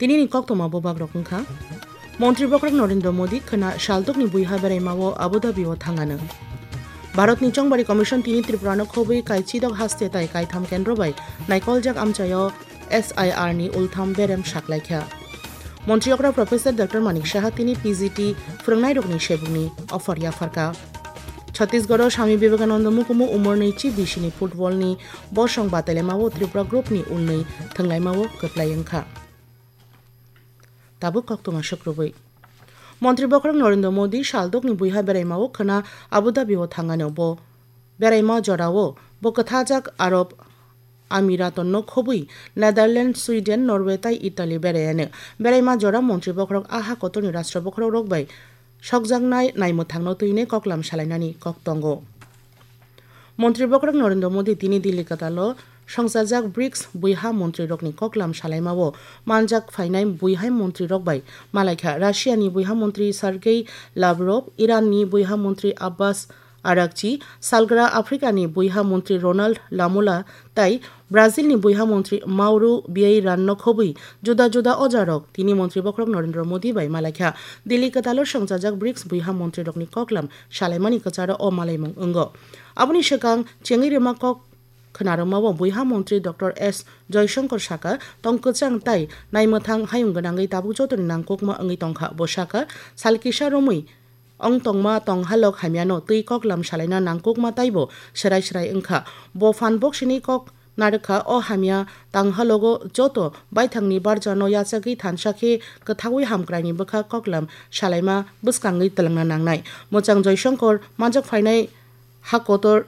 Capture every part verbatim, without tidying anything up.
Tinini koktwma bubagrok wngkha, Montri Bokhorok Narendra Modi khwna saldokni buiha beraimao Abu Dhabi o thangano. Bharatni Chongbari Commission tini Tripurano khobwi kaichidok haste tai kaitham kendro bai naikoljak amchaio S I R ni ultham berem saklaikha. Montri okra Professor Doctor Manik Saha tini P G T phwrwngnairokni sebukni offer yapharkha. Chhattisgarho Swami Vivekananda mukumu umor nwichi bisini football ni bosong batailaimao Tripura group ni ulnwi thwnglaimao kwplai wngkha. Tabuk koktwma sukrubwi. Montri Bokhorok Narendra Modi saldokni buiha beraimao khwna Abu Dhabi o thangano. Bo beraima jorao bo kwthajak Arab Amiratonno khobwi Netherlands, Sweden, Norway tai Italy beraiano. Beraima jora Montri Bokhorok a ha kotorni Rashtra Bokhorok rok bai sokjaknai naimwthangno twinai koklam salainani kok tongo. Montri Bokhorok Narendra Modi tini Delhi kwtalo songchajak brics buiha montrirokni koklam salaimao manjak phainai buihai montrirok bai malaikha. Russiani buiha montri Sergei Lavrov, Iranni buiha montri Abbas Arakchi, salgra Africani buiha montri Ronald Lamola tai Brazilni buiha montri Mauro Vieira no khobwi juda juda ojarok tini Montri Bokhorok Narendra Modi bai malaikha. Delhi kwtalo songchajak brics buiha montrirokni koklam salaimani kwcharo o malaimung wngo. Aboni swkang chengwi rwma kok khwnarwmao buiha montri Doctor S Joyshankar saka, tong kwchang tai naimwthang hayung gwnangwi tabuk jotoni nangkukma wngwi tongkha. Bo saka, sal kisa romwi ong tongma tonghalok hamyano twi koklam salaina nangkukma taibo swrai swrai wngkha. Bo phan boksini kok narwkha, o hamya tanghalogo joto baithangni barjano yachagwi thansa khe kwthaui hamkraini bwkha koklam salaima bwskangwi twlangna nangnai. Mwchang Joyshankar manjak phainai ha kotor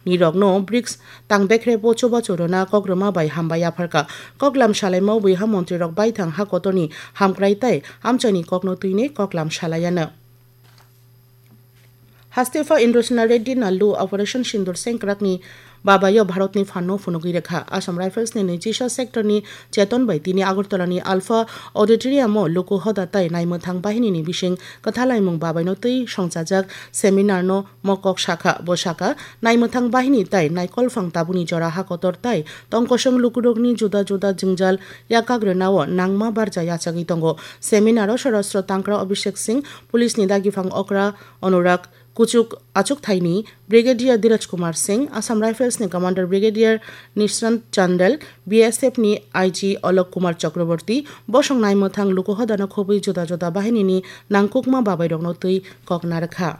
nirokno brics tang bekhre bo chubachu rwna kokrwma bai hambai yapharkha. Koklam salaimao buiha montrirok baithang ha kotorni hamkrai tai amchaini kokno twinwi koklam salaiano. Hastepha Indrasena Reddy Nallu Operation Sindoor sengkrakni babaio Bharatni phanno phunugwi rwkha. Assam Riflesni nwichisa sectorni Cheton bai tini Agartalani Alpha Auditoriumo luku hoda tai naimwthang bahinini bising kwthalaimung babaino twi songchajak seminarno mokok sakha. Bo sakha, naimwthang bahini tai naikolphang tabukni jora ha kotor tai tongkosong lukurokni juda juda jwngjal yakagrwnao nangma barja yachagwi tongo. Seminaro Sorastro Tangkra Abhishek Singh, Police ni Dagiphang Okra Anurag Kuchuk, Achukthaini Brigadier Dheeraj Kumar Singh, Assam Rifles ni Commander Brigadier Nishant Chandel, B S F ni I G Alok Kumar Chakraborty, bosong naimwthang luku hodano khobwi juda juda bahinini nangkukma babairokno twi kok narwkha.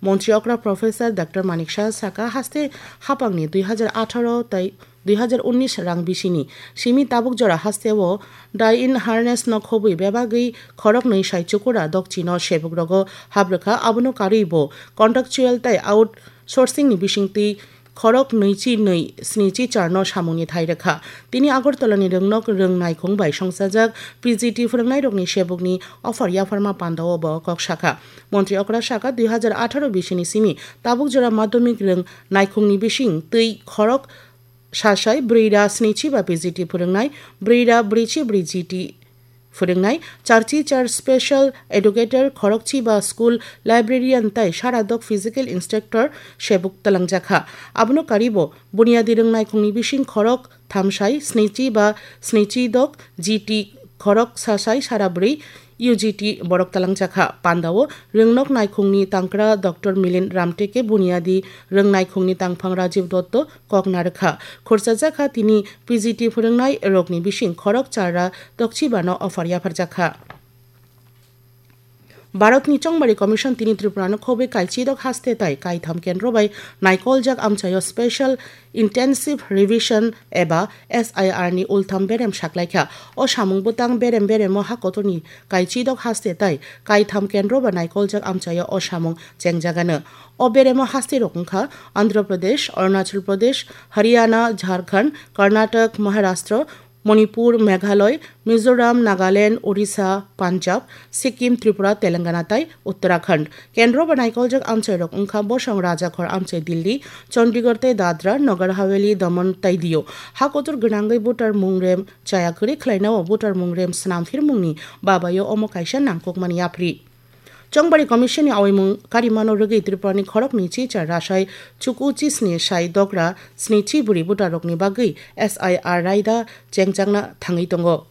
Montri okra Professor Doctor Manik Saha saka, haste hapangni dui hajar atharo tai dui hajar unnish rang bisini simi tabuk jora hasteo die in harness no khobwi bebagwi khoroknwi sai chukura dokchino sebugrogo habrwkha, abono karwi bo contractual tai outsourcing ni bisingtwi khorok nwichi nwi snichi charno samungni thai rwkha. Tini Agartalani rwngnok rwng naikhung bai songchajak P G T phwrwngnairokni sebukni offer yapharma pandao bo kok sakha. Montri okra saka, dui hajar atharo bisini simi tabuk jora madhyamik rwng naikhungni bising twi khorok sasai brwi ra snichi ba P G T phwrwngnai, brwi ra brwichi brwi G T phwrwngnai, charchi char special educator, khorokchi ba school librarian tai saradok physical instructor sebuk twlangjakha. Abono karwi bo bunyadi rwng naikhungni bising khorok thamsai snichi ba snichi dok G T, khorok sasai sara brwi U G T borok twlangjakha. Pandao rwngnok naikhungni tangkra Doctor Milind Ramteke, bunyadi rwng naikhungni tangphang Rajiv Dotto kok narwkha. Khurchajakha tini P G T phwrwngnai rokni bising khorok chara tokchibano offer yapharjakha. Bharatni Chongbari Commission tini Tripurano khobwi kaichidok haste tai kaitham kendro bai naikoljak amchaio Special Intensive Revision eba S I R ni ultham berem saklaikha. O samung bwtang berem beremo ha kotorni kaichidok haste tai kaitham kendro bai naikoljak amchaio o samung chengjagano. O beremo haste rok wngkha Andhra Pradesh, Arunachal Pradesh, Haryana, Jharkhand, Karnataka, Maharashtra, Manipur, Meghalaya, Mizoram, Nagaland, Odisha, Punjab, Sikkim, Tripura, Telangana tai Uttarakhand. Kendro bai naikoljak amchairok wngkha bosong Rajakhor amchai Delhi, Chandigarh tei Dadra, Nagar Haveli, Daman tai Diu. Ha kotor gwnangwi voter mung rem chaya kwrwi khlainao voter mung rem swnamphirmungni babaio omo kaisa nangkukmani yapri. Chongbari Commission ni awaimung karimano rwgwi Tripura ni khorok nwichi char rasai chuku chisni sai dogra snichi bwrwi voter rokni bagwi S I R raida chengjakna thangwi tongo.